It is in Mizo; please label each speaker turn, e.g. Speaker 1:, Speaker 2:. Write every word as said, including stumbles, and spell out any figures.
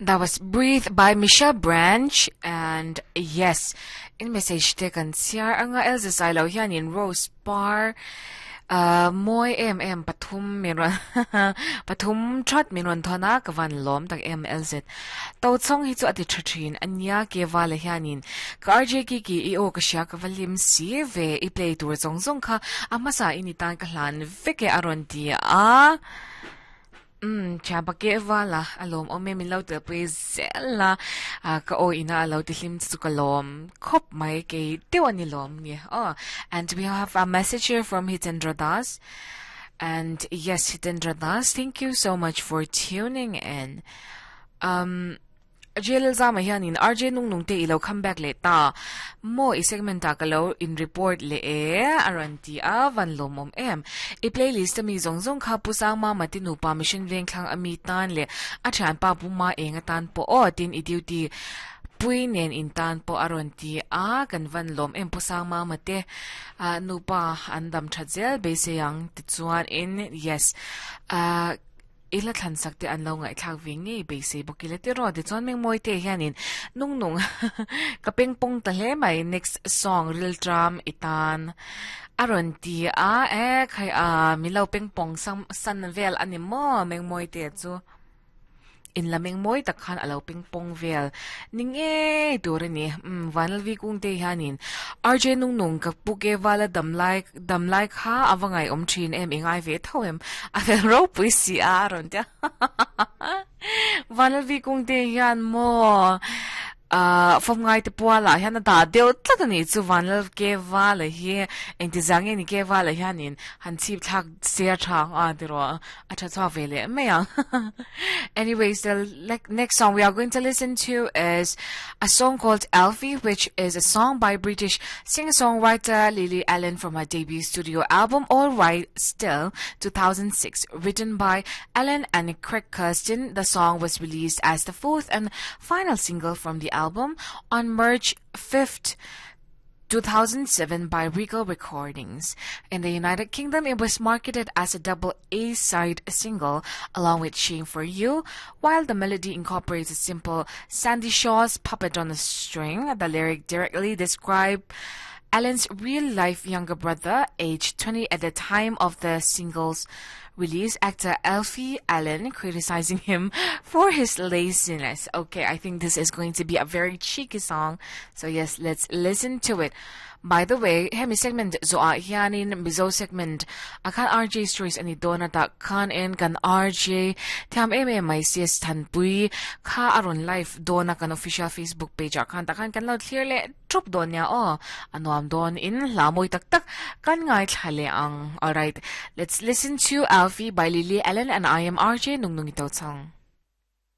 Speaker 1: That was Breathe by Michelle Branch and yes, in message te kan chhiar anga Elza Sailo hianin Rose Par uh, moi em em pathum min ron pathum that min ron thona ka van lom tak em L Z to chong hi chu ati tha thin ania ke wala hianin ka R J ki ki i o ka sha ka valim si ve i play tur chong chong kha amasa ini tan ka hlan veke aron ti a. Um, chaba ke wala alom o me min lo te pui zela a ka o ina alo ti hlim chu ka lom khop mai ke te ani lom ni. Oh, and we have a message here from Hitendra Das. And yes, Hitendra Das, thank you so much for tuning in. Um, J L zama hianin R J nung nung te ilo comeback le ta mo i segment ta kalo in report le e aran ti a van lomom em i playlist mi zong zong kha pusang ma matinu pa mission veng thlang ami tan le a thian pa pu ma enga tan po o tin i duty pui nen in tan po aron ti a kan van lom em pusang ma mate a nu pa andam thatzel be se yang ti chuan in yes a ila thlan sak te an lo ngai thlak ve nge be se bokile te ro te chuan meng moi te hianin nung nung ka peng pong ta hle mai next song ril tram itan aron ti a e khai a mi lo peng pong sam san vel ani mo meng moi te chu in lameng moi tak khan alo ping pong vel ning e tur ani um vanal vi kung te hianin R J nung nung ka puke wala dam lai dam lai kha awangai om thin em ingai ve tho em a vel ro pui si a ron ta vanal vi kung te hian mo uh fom ngai te puala hian a da deuh tlat ani chu vanal ke wala hi engti zange ni ke wala hianin han chip thak sia thang a tiro a tha chwa vele mai ang. Anyways, the le- next song we are going to listen to is a song called Alfie, which is a song by British singer-songwriter Lily Allen from her debut studio album All Right Still, two thousand six. Written by Allen and Craig Kirsten, the song was released as the fourth and final single from the album on March fifth, two thousand seven by Regal Recordings. In the United Kingdom, it was marketed as a double A-side single along with Shame for You, while the melody incorporates a simple Sandie Shaw's Puppet on a String. The lyric directly describe Allen's real-life younger brother, aged twenty at the time of the single's release, actor Alfie Allen, criticizing him for his laziness. Okay, I think this is going to be a very cheeky song. So yes, let's listen to it. By the way, hemi segment zo a hianin Mizo segment akhan R J stories ani dona ta khan en kan R J tham em em mai C S Thanpui kha aron live dona kan official Facebook page a khan ta khan kan lo clear le trup don ya o anuam don in lamoi tak tak kan ngai thlale ang. Alright, let's listen to Alfie by Lily Allen, and I am R J Nung Nung Ito Chang.